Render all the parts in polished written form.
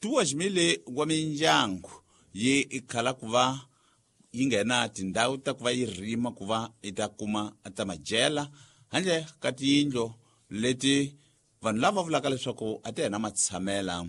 2,000 wa mindyangu yi khala ku va yi nghena tindhawu ta ku va yi rima ku va yi ta kuma ta madyela handle ka tiyindlu leti vanhu lava vulaka leswaku a ti hena matshamela.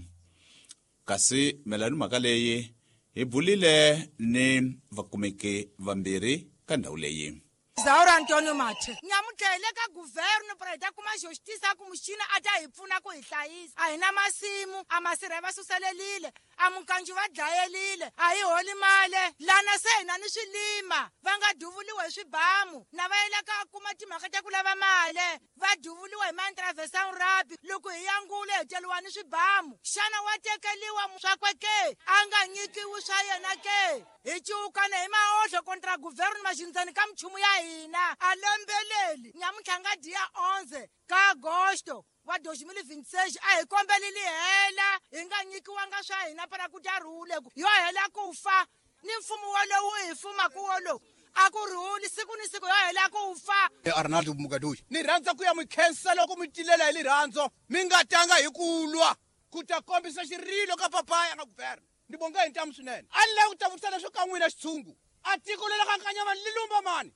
Kasi mayelana ni mhaka leyi hi bulile ni vakumeki vambirhi ka ndhawu leyi. Zaura Antonio Mathe. Nyamuntlha hi le ka guverno para hi ta kuma justiça ku muxina a ta hi pfuna ku hi hlayisa. A hi na masimu, a masirha va suselelile, a mukanju va dlayelile, a hi holi male. Lana se hi na ni swilima, va nga duvuliwa hi swibamu, na va yela ka kuma timhaka ta ku lava male, va duvuliwa hi ma-intervention rugby. Loko hi yangule hi teliwa ni swibamu. Xana wa tekeliwa swakwe ke? A nga nyikiwi swa yena ke? Hi ciukana hi maohlo kontra guverno maxindzeni ka minchumu ya hina. A lembeleli nyamuntlha nga dia 11 ka agosto wa 2026 a hi kombeli lihela hi nga nyikiwanga swa hina para ku ta rhule ku yo hela ku fa ni mfumo wolowu hi fumaku wolowu a ku rhuli siku ni siku yo hela ku fa. Arnaldo Mugadoyi, ni rhandza ku ya mi khensa loko mi tilela hi rirhandzu, mi nga tanga hi ku lwa ku ta kombisa xirilo ka papaya nga guverno. Ni bonga hi ntamu swinene. A ni lavi ku ta vutisa leswo ka n'wina xitshungu. A tiko leri ka Nkanyamani li lumba mani?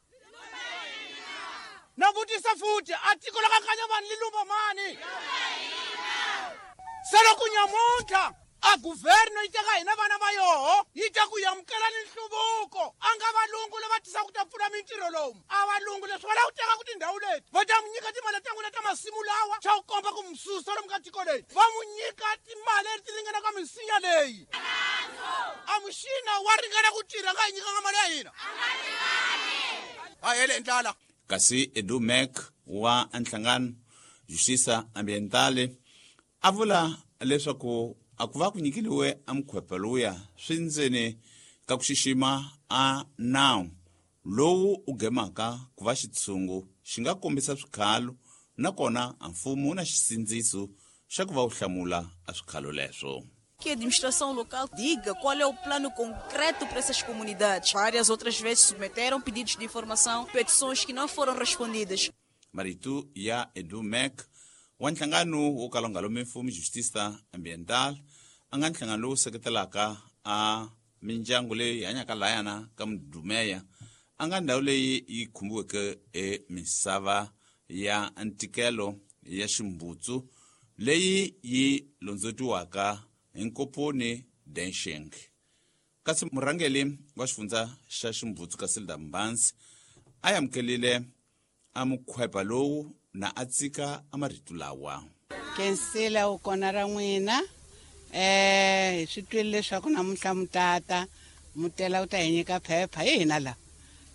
Na vutisa futhi, a tiko la ka Nkanyamani li lumba mani? Se loko nyamuntlha a guverno yi teka hina vana va yoho yi ta ku amukela ni nhluvuko, a nga valungu lava tisaka ku ta pfula mintirho lomu, a valungu leswi va lava ku teka ku tindhawu leti va ta n'wi nyika timali ta n'wina ta masimu lawa xa ku komba ku mususa lomu ka tiko leyi, va n'wi nyika timali leti ringanaka misinya leyi. A muxina wa ringana ku tirha nga hi nyikanga mali ya hina, a hele hi ndlala. Kasi Edu Mac wa nhlangano Justiça Ambientale a vula leswaku a ku va ku nyikeliwe a mukhwepa lowuya swi ndzeni ka ku xixima a nawu lowu u gemaka ku va xitshungu xi nga kombisa swikhalo, nakona a mfumo wu na xisindziso xa ku va wu hlamula a swikhalo leswo. Que a administração local diga qual é o plano concreto para essas comunidades. Várias outras vezes submeteram pedidos de informação, petições que não foram respondidas. Marito ya Edu Mac wa nhlangano wo kala wu nga lomi mfumo Justiça Ambiental, a nga nhlangano lowu seketelaka a mindyangu leyi hanyaka layana ka Mudumeya, a nga ndhawu leyi yi khumbiweke e misava ya ntikelo ya ximbutsu leyi yi londzotiwaka hi Nkoponi Densheng. Kasi murhangeli wa xifundza xa ximbutsu Casilda Mbanzi a amukelile a mukhwepa lowu na a tsika a marito lawa. Kensila u kona ra n'wina. Hi swi twile leswaku namuntlha mutata mutela u ta hi nyika phepha, hi hina la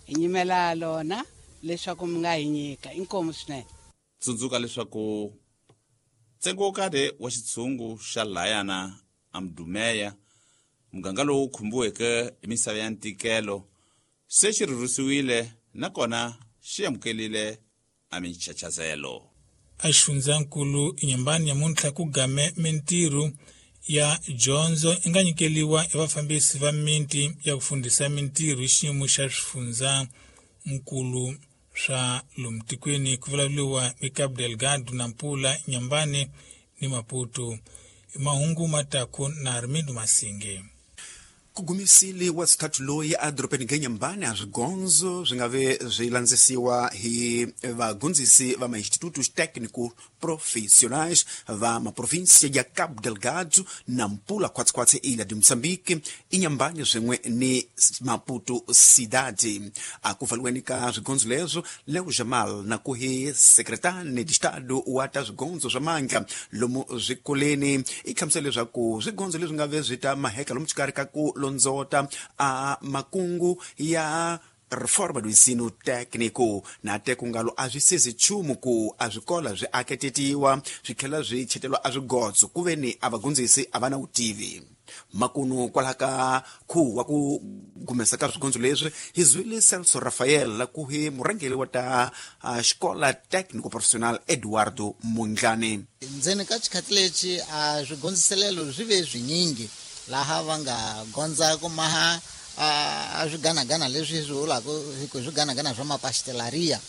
hi nyimela lona leswaku mi nga hi nyika. Inkomu swinene. Tsundzuka leswaku ntsengo wo karhi wa xitshungu xa layana a Mudumeya, muganga lowu khumbiweke hi misava ya ntikelo, se xi rhurhisiwile nakona xi amukelile a minchachazelo. A xifundzankulu Inhambane nyamuntlha ku game mintirho ya dyondzo i nga nyikeliwa hi vafambisi va miti ya ku fundhisa mintirho hi xiyimo xa swifundzankulu swa lomu tikweni, ku vulavuriwa hi Cabo Delgado, Nampula, Inhambane ni Maputo. Mahungu mataku na Armindo Masinge. Ku gumisile wa xithathu loyi a dorobeni ga Inhambane a swigondzo swi nga ve swi landzisiwa hi vagondzisi va ma-institutos técnico profissionais va maprovinsia ya Cabo Delgado, Nampula, khwatsikhwatsi Ilha de Moçambique, Inhambane swin'we ni Maputo Cidade. A ku pfaliweni ka swigondzo leswo, Leo Jamal na ku hi sekretane de Estado wa ta swigondzo swa mandla lomu swikoleni i hlamusela leswaku swigondzo leswi nga ve swi ta maheka lomu xikarhi ka ku londzota a makungu ya reforma do ensino técnico na te ku ngalo a swi sezi nchumu ku a swikola swi aketetiwa swi tlhela swi chetelwa a swigotso ku ve ni a vagondzisi a va na vutivi. Makunu kwalaha ka khuwa wa ku gumesa ka swigondzo leswi hi zwile Celso Rafael ku hi murhangeri wa ta xikola técnico profissional Eduardo Mondlane. Ndzeni ka xikhathi lexi a swigondziselelo swi ve swinyingi laha va nga gondza ku maha a swiganagana leswi swi vulaka ku swiganagana swa mapastelaria,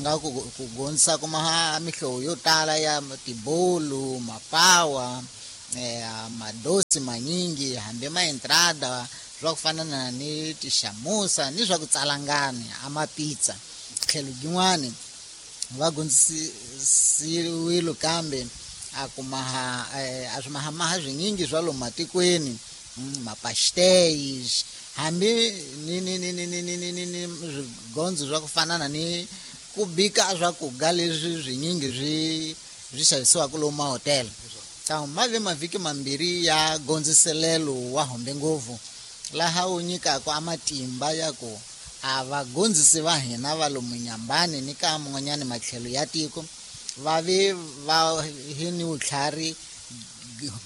nga ku ku gondzisa ku maha mihlovo yo tala ya tibolu, mapawa, Madosi manyingi hambi ma entrada swa ku fana na ni tixamusa ni swa ku tsalangani a mapizza. Tlhelo yin'wani va gondzisiwile kambe a kumaha a swi mahamaha swinyingi swa lomu matikweni, mapastéis, hambi ni ni ni ni ni ni ni ni ni swigondzo swa ku fana na ni ku bika swakudya leswi swinyingi swi xavisiwaka lomu mahotela. Ma ve mavhiki mambirhi ya gondziselelo wa hombe ngopfu, laha wu nyikaka a matimba ya ku a vagondzisi va hina va lomu Nyambani ni ka man'wanyana matlhelo ya tiko va ve va hi ni vutlhari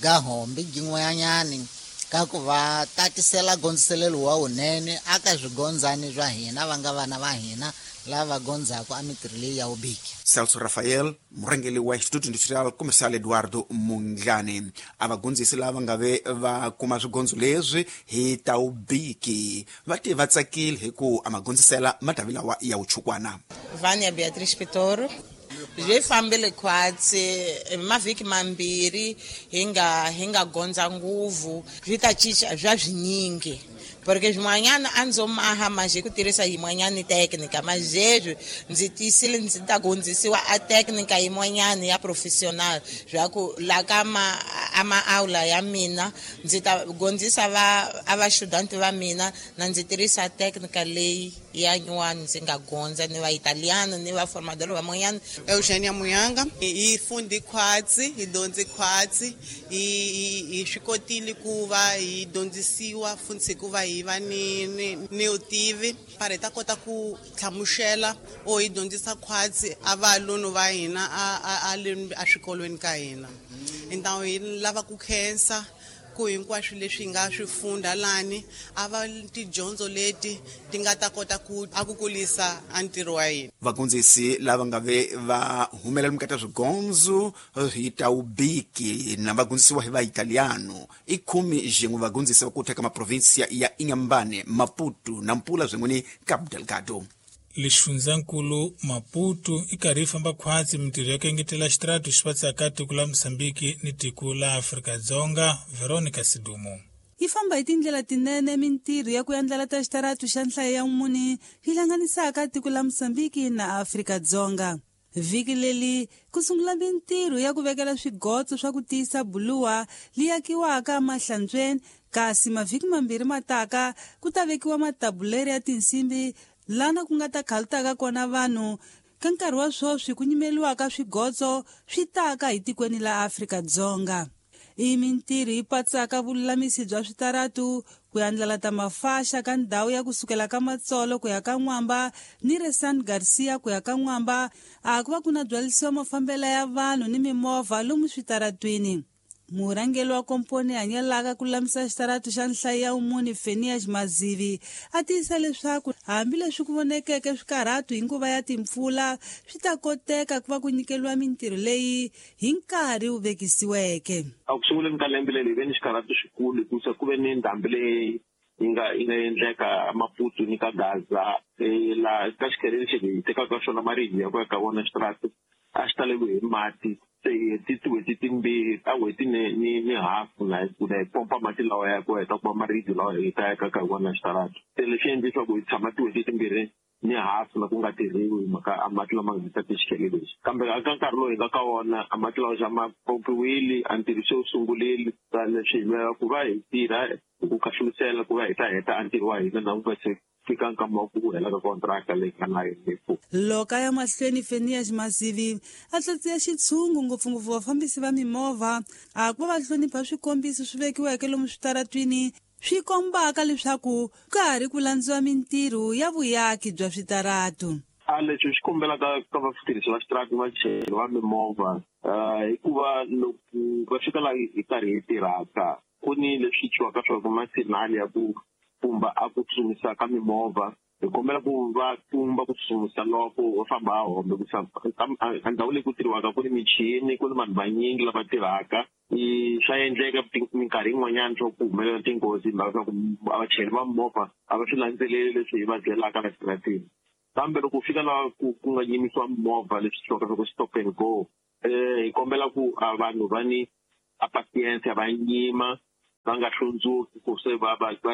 ga hombe byin'wanyani ka ku va tatisela gondziselelo wa wunene aka swigondzani swa hina va nga vana va hina lava gondzaka a mitirho leyi ya vubiki. Celso Rafael, murhangeri wa Instituto Industrial Comercial Eduardo Mondlane, a vagondzisi lava nga ve va kuma swigondzo leswi hi ta ubiki va te va tsakile hi ku a magondzisela matavi lawa ya vuchukwana. Vânia Beatriz Pitoro. Byi fambile khwatsi mavhiki mambirhi hi nga gondza nguvu swi ta cinca bya swinyingi, porque swin'wanyana a ndzo maha manjhe ku tirhisa yin'wanyani teknika, manjhe ndzi tiyisile ndzi ta gondzisiwa a teknika yin'wanyana ya professional swa ku la ka ma a maaula ya mina ndzi ta gondzisa va a va-student va mina na ndzi tirhisa teknika leyi ya nyuwani ndzi nga gondza ni va italiano ni va formador van'wanyana. Eugenia Muyanga, hi fundi khwatsi, hi dyondzi khwatsi, hi swi kotile ku va hi dyondzisiwa funtsi ku va hi va ni vutivi para hi ta kota ku hlamusela o hi dyondzisa khwatsi a valunu va hina a a swikolweni ka hina. Então hi lava ku khensa ku hinkwaswo leswi hi nga swi funda lani a va tidyondzo leti ti nga ta kota ku a ku kulisa a ntirho wa hina. Vagondzisi lava nga ve va humelela mukati swigondzo hi ta ubiki na vagondzisiwa hi vaitaliano i 11 vagondzisi va ku teka maprovinsia ya Inhambane, Maputo, Nampula swin'we ni Cabo Delgado. Lexifundzankulu Maputo i karhi yi famba khwatsi mintirho ya ku engetela xitaratu xi patsaka tiko la Mozambique ni tiko la Afrika-Dzonga. Veronica Sidumo. Yi famba hi tindlela tinene mintirho ya ku endlela ta xitaratu xa nhlayo ya mune yi hlanganisaka tiko la Mozambique na Afrika-Dzonga. Vhiki leri ku sungula mintirho ya ku vekela swigotso swa ku tiyisa buluwa li akiwaka emahlantsweni, kasi mavhiki mambirhi mataka ku ta vekiwa matabuleri ya tinsimbi lana ku nga ta khalutaka kona vanhu. Ka nkarhi wa sweswi ku nyimeliwaka swigotso swi taka hi tikweni la Afrika-Dzonga. I mintirho yi patsaka vululamisi bya switaratu ku andlala ta mafaxa ka ndhawu ya kusukela ka Matsolo ku ya ka N'wamba ni Resan Garcia ku ya ka N'wamba, a ku va ku na byalisiwa mafambelo ya vanhu ni mimovha lomu switaratwini. Murhangeri wa komponi hanyelaka ku lulamisa xitaratu xa nhlayo ya umuni Fenias Mazivi a tiyisa leswaku hambileswi ku vonekeke swikarhatu hi nguva ya timpfula swi ta koteka ku va ku nyikeliwa mintirho leyi hi nkarhi wu vekisiweke. A ku sunguleni ka lembe leri hi ve ni xikarhatu xikulu hikusa ku ve ni ndhambi leyi yi nga endleka Maputo ni ka Gaza, laha ka xikhele lexi hi tekaka xona maribye ya ku ya ka vona xitaratu a xi taleriwe hi mati. Tin'hweti timbirhi ta n'hweti ni hafu na hi pompa mati lawa ya ku heta ku va maribye lawa hi ta ya ka wona xitaratu. Se leswi endle leswaku hi tshama tin'hweti timbirhi ni hafu na ku nga tirhiwi hi mhaka a mati lama nga ta xikhele lexi. Kambe eka nkarhi lowu hi nga ka wona a mati lawa xa ma pompiwile, a ntirho se wu sungurile. Leswi hi lwela ku va hi tirha hi ku khahlulisela ku va hi ta heta a ntirho wa hina na ku nga se fika nkama wa ku hela ka kontraka leyi nga na yona. Loko a ya mahlweni Fenias Mazivi a tlatsiya xitshungu ngopfungopfu vafambisi va mimovha a ku va va hlonipha swikombiso swi vekiweke lomu switaratwini swi kombaka leswaku ka ha ri ku landziwa mintirho ya vuyaki bya switaratu. A leswi swi kombelaka ka vatirhisi va xitaratu vachayeri va mimovha, hikuva loko va fika laha hi karhi hi tirhaka ku ni leswi twiwaka swa ku masignali ya ku pfumba a ku tsutsumisa ka mimovha, hi kombela ku va pfumba ku tsutsumisa loko va famba a hombe ku a ndhawu leyi ku tirhiwaka ku ni michini, ku ni vanhu vanyingi lava tirhaka. Swa endleka minkarhi yin'wanyana swa ku humelela tinghozi hi mhaka swa ku vachayeri va mimovha a va swi landzeleli leswi hi va byelaka la xitaratini. Kambe loko u fika laha ku nga yimisiwa mimovha leswi twiwaka swa ku stop and go, hi kombela ku a vanhu va ni a patience va nyima va nga hlundzuki ku se va va va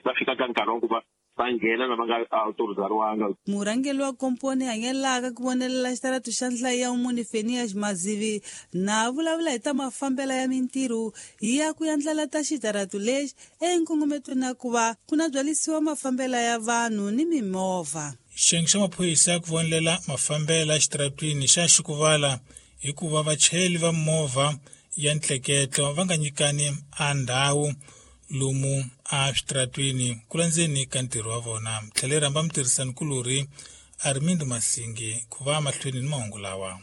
va fika ka nkarhi wa ku va va nghena na va nga autorizariwanga. Murhangeri wa komponi hanyelaka ku vonelela xitaratu xa nhlayo ya muni Fenias Mazivi na vulavula hi ta mafambela ya mintirho ya ku yandlala ta xitaratu lexi enkongometweni na ku va ku na byalisiwa mafambela ya vanhu ni mimovha. Xiyenge xa maphorisa ya ku vonelela mafambela exitaratwini xa xikuvala hikuva vachayeri va movha ya ntleketlo va nga nyikani a ndhawu lomu a switaratwini ku landzeni ka ntirho wa vona. Tlhele rhamba mutirhisanikulorhi Armindo Masingi ku va mahlweni ni mahungu lawa.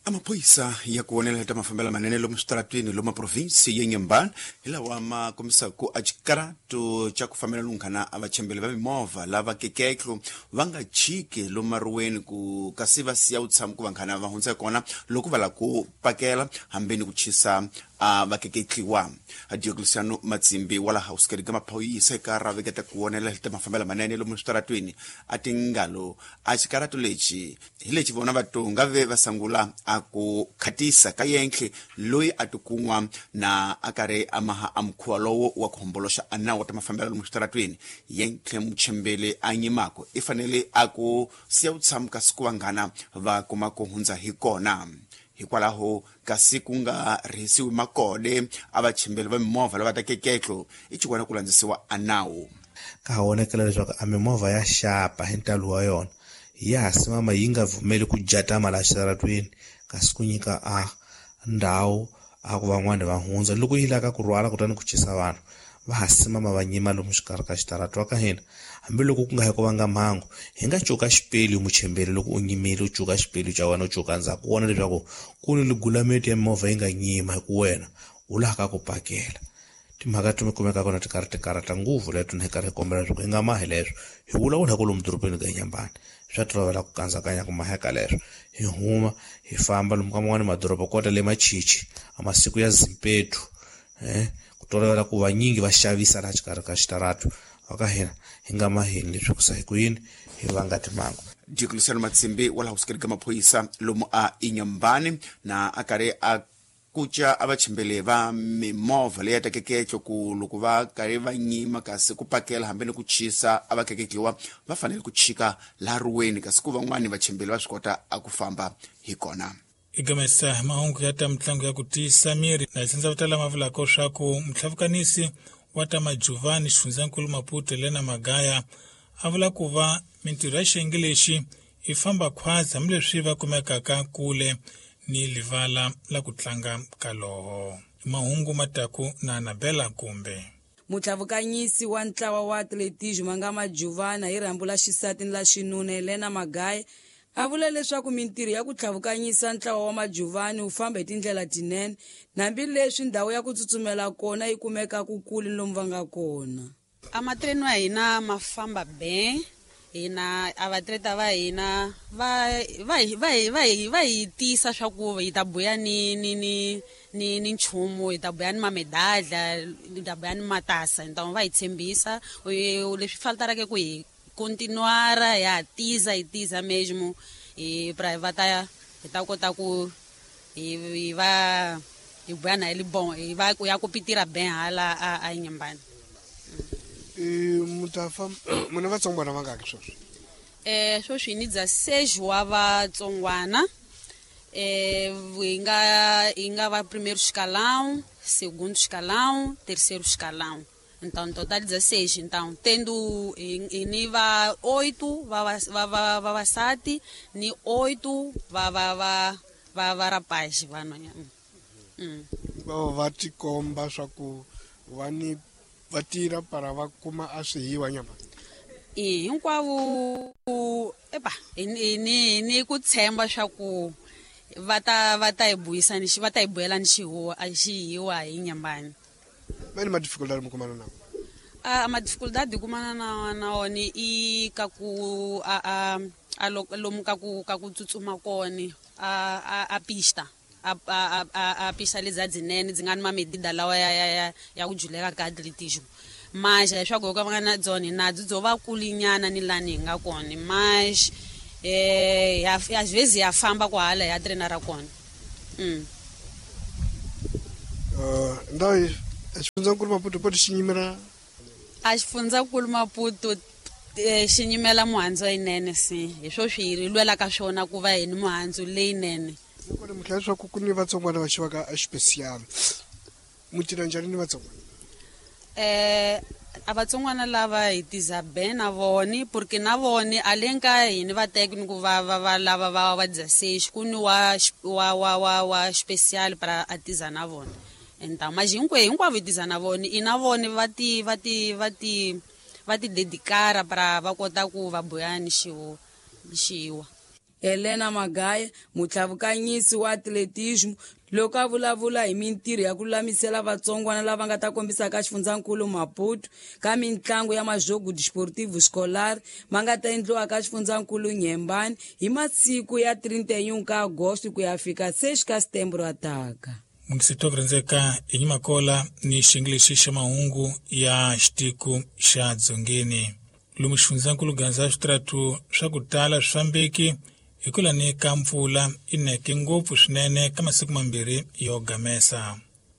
Amaphoyisa ya ku vonela ta mafambelo manene lomu switaratwini lomu provinsi ya Inhambane hi lawa ma kombisaka a xikarato xa ku fambela lunghana a vachembeli va mimovha lava keketlo va nga chiki lomu maruweni ku kasi va siya vutshamo ku vanghana va hundza kona loko va lava ku pakela hambi ni ku chisa a va keketliwa. Diocleciano Matsimbi wa laha usikeri ka maphorisa eka raveketa ku vonela ta mafambelo manene lomu switaratwini a tingalo a xikarato lexi hi lexi vona vatonga ve va sangula a ku khatisa ka yenhle loyi a tikun'wa na a karhi a maha a mukhuva lowo wa ku homboloxa a nawu ta mafambelo lomu switaratwini. Yenhle muchembele a nyimako i fanele a ku siya vutshamo kasi ku vanghana va kuma ku hundza hi kona. Hikwalaho kasi ku nga rhisiwi makode a vachembeli va mimovha lava ta keketlo i xikwana ku landzisiwa a nawu. Ka ha vonakela leswaku a mimovha ya xapa hi ntalo wa yona ya ha simama yi nga pfumeli ku jatama laha xitaratwini kasi ku nyika a ndhawu a ku van'wani va hundza loko yi lava ku rhwala kutani ku chisa vanhu va ha simama va nyima lomu xikarhi ka xitaratu wa ka hina. Hambiloko ku nga hi ku vanga mhangu hi nga cuka xipelu muchembeli loko u nyimile u cuka xipelu xa wena u cuka ndzhaku u vona leswaku ku ni ligulameti ya mimovha yi nga nyima hi ku wena u laha ka ku pakela. Timhaka ti kumeka kona ti karhi ti karhata ngopfu leto ni karhi hi kombela leswaku hi nga mahi leswo hi vulavula hi ku lomu dorobeni ka Inhambane swa tolovela ku kandzakanya ku maheka leswo hi huma hi famba lomu ka man'wani madoroba kota le Machichi a masiku ya Zimpetu ku tolovela ku vanyingi va xavisa laha xikarhi ka xitaratu va ka hina hi nga mahini leswi ku sa hi ku yini hi vanga timhangu. Diocleciano Matsimbi wa laha usikeri ka maphorisa lomu a Inhambane na a karhi a kuca a vachembele va mimovha leyi ya tekeketlo ku loko va karhi va nyima kasi ku pakela hambi ni ku chisa a va keketliwa va fanele ku chika laha ruweni kasi ku van'wani vachembeli va swi kota a ku famba hi kona. Igamesa mahungu ya ta mitlangu ya ku tiyisa miri na xindza vutala ma vulaka swa ku mutlhavukanisi wa ta Majuvani xifundzankulu Maputo Helena Magaya a vula ku va mintirho ya xiyenge lexi i famba khwazi hambileswi va kumekaka kule ni livala la ku tlanga kaloho. Mahungu mataku na Anabela kumbe Mutlhavukanyisi wa ntlawa wa atletismo nga Majuvana hi rhambu la xisati ni la xinuna Helena Magaya a vula leswaku mintirho ya ku tlhavukanyisa ntlawa wa Majuvani wu famba hi tindlela tinene hambileswi ndhawu ya ku tsutsumela kona yi kumeka ku kule lomu va nga kona. A matreno ya hina ma famba ben hina a vatleta va hina va va va va va hi tisa swa ku hi ta buya ni ni ni ni ni nchumu hi ta buya ni mamedalha hi ta buya ni matasa hi ta va hi tshembisa leswi faltaraka ku hi continuar ya tiza hi tiza mesmo e pra va ta hi ta kota ku hi va hi buya na ele bom hi va ku ya ku pitira ben hala a Inhambane. Mutafa muna vatsongwana vangaki sweswi? Sweswi ni 16 wa vatsongwana. Hi nga va primeiro escalão, segundo escalão, terceiro escalão. Então, total 16. Então, tendo ni va 8 va vavasati ni 8 va rapaz vanhwanyana. Va tikomba swa ku va ni va tirha para va kuma a swihiwa nyama. Hinkwavo epa ni ku tshemba swa ku va ta hi buyisa ni va ta hi buyela ni xihuwa a xihiwa hi Inhambane. Mani ma dificuldade mu kumana nawo? A ma dificuldade kumana na wona i ka ku a lomu ka ku tsutsuma kona a pista a pista leti dzinene dzi nga ni mamedida lawa ya ku juleka ka atletismo. Mas leswaku ka va nga na byona na byo va kulinyana ni lani hi nga kona mas às vezes ya famba kwahala ya trainer ra kona. Ndhawu xifundzankulu Maputo poto xi nyimela a xifundzankulu Maputo xi nyimela muhandzu leyinene si hi swo swi hi lwelaka swona ku va hi ni muhandzu leyinene. Kona mi tlhela leswaku ku ni vatsongwana va xivaka a xipesiyali mu tirha njhani ni vatsongwana? A vatsongwana lava hi tiza be na voni porque na voni a le nka hini va teki ni ku va va va lava va va 16 ku ni wa wa wa wa wa special para a tiza na vona. Então mas hinkwavo hi tiza na voni i na voni va ti va ti va ti va ti dedicara para va kota ku va boya ni xiwa. Helena Magaya, mutlhavukanyisi wa atletismo, loko a vulavula hi mintirho ya ku lulamisela vatsongwana lava nga ta kombisa ka xifundzankulu Maputo ka mintlangu ya majogo desportivo escolar ma nga ta endliwa ka xifundzankulu Nyembani hi masiku ya 31 ka Agosto ku ya fika 6 ka Setembro ataka. Mungisito kurhendzeka hi Nyimakola ni xingilexi xa mahungu ya xitiko xa Dzongeni. Lomu xifundzankulu Gaza switaratu swa ku tala swi fambeki hi ku lani ka mpfula i neke ngopfu swinene ka masiku mambirhi yo gamesa.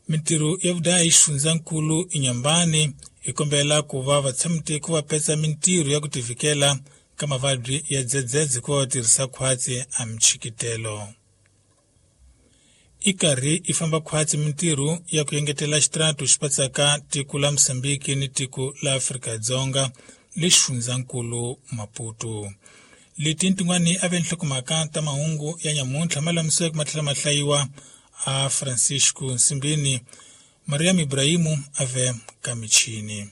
Mintirho ya vudayi xifundzankulu Inhambane hi kombela ku va vatshamitiko va petsa mintirho ya ku tivikela ka mavabyi ya dzedzedze ku va va tirhisa khwatsi a michikitelo. I karhi i famba khwatsi mintirho ya ku engetela xitaratu xi patsaka tiko la Mozambique ni tiko la Afrika-Dzonga le xifundzankulu Maputo. Leti tin'wani a ve nhlokomhaka ta mahungu ya nyamuntlha ma lamiseke ma tlhela ma hlayiwa a Francisco Nsimbini, Mariam Ibrahimu a ve ka michini.